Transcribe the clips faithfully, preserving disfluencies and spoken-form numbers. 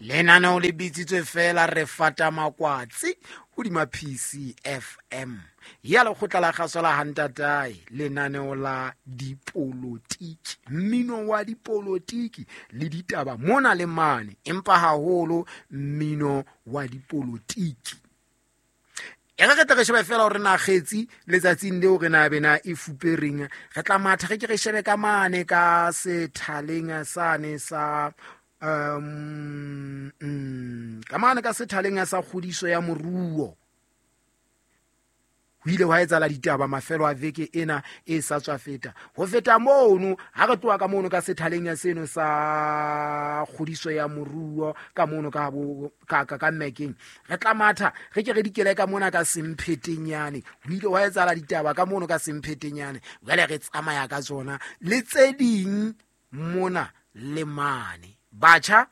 Lenaneo le bitsitswe feela re fata makwatsi hodima P C F M ya lekgotla la kgaso la Hantatae, lenaneo la dipolotiki, mmino wa dipolotiki le ditaba mona le mane, empa haholo mmino wa dipolotiki. E re re tle re shebe fela hore na kgetsi letsatsing leo re na bena e fupereng, re tla matha re ke re shebe ka mane ka sethaleng sane sa um mm, ka mane ka sethaleng sa kgodiso ya moruo. Ho ile hwa etsahala ditaba mafelo a veke ena e sa tswa feta. Ho feta mono, ha re tloha ka mono ka sethaleng ya seno sa kgodiso ya moruo ka mono ka bo ka ka, ka Mekeng, re tla matha re ke re dikele ka mona ka Semphetenyane. Ho ile hwa etsahala ditaba ka mono ka Semphetenyane, jwale re tsamaya ka tsona le tse ding mona le mane. Batjha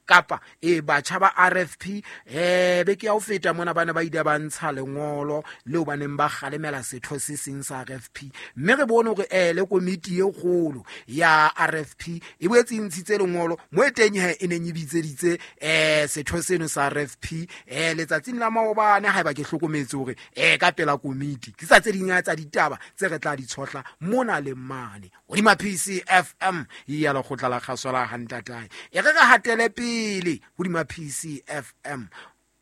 kapa e batjha ba R F P eh beke ya ho feta mona bana ba ile ba ntsha lengolo leo ba neng ba kgalemela setho se seng sa R F P, mme re bone hore eh le komiti e kgolo ya R F P e boetse e ntshitse lengolo mo e teng he e neng e bitseditse eh setho seno sa R F P eh letsatsing la maobane, haeba ke hlokometse hore eh ka pela komiti ke tsa tse ding tsa ditaba tse re tla di tshohla mona le mane hodima P C F M ya lekgotla la kgaso la Hantatae. E re re hatele pele hodima P C F M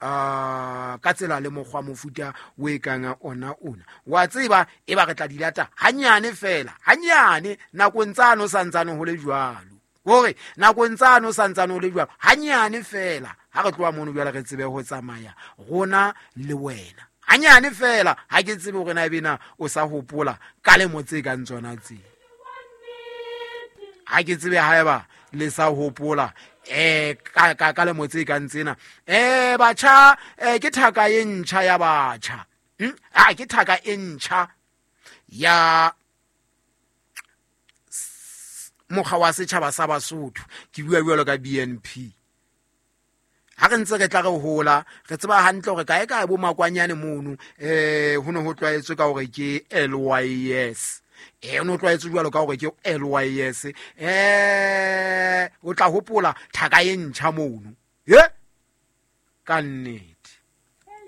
uh, ka tsela le mokgwa mofuta o e kang ona ona. Wa tseba e ba re tla dilata hanyane fela, hanyane nakong tsano santsane ho le jwalo. Hore nakong tsano santsane ho le jwalo, hanyane fela ha re tloha mono jwale re tsebe ho tsamaya rona le wena. Hanyane fela ha ke tsebe hore na ebe na o sa hopola ka lemo tse kang tsona tse. Ha ke tsebe haeba le sa hopola eh ka ka ka lemo tse kang tsena. Eh batjha eh ke thaka e ntjha ya batjha. Hm? Ah ke thaka e ntjha ya mokga wa setjhaba sa Basotho. Ke bua jwalo ka B N P. Ha re ntse re tla re hola, re tseba hantle hore kae kae bo makwanyane mono eh ho ne ho tlwaetswe ka hore ke L Y S. Eh no tlwaetswe jwalo ka hore ke L Y S. Eh o tla hopola thaka e ntjha mono. He? Ka nnete.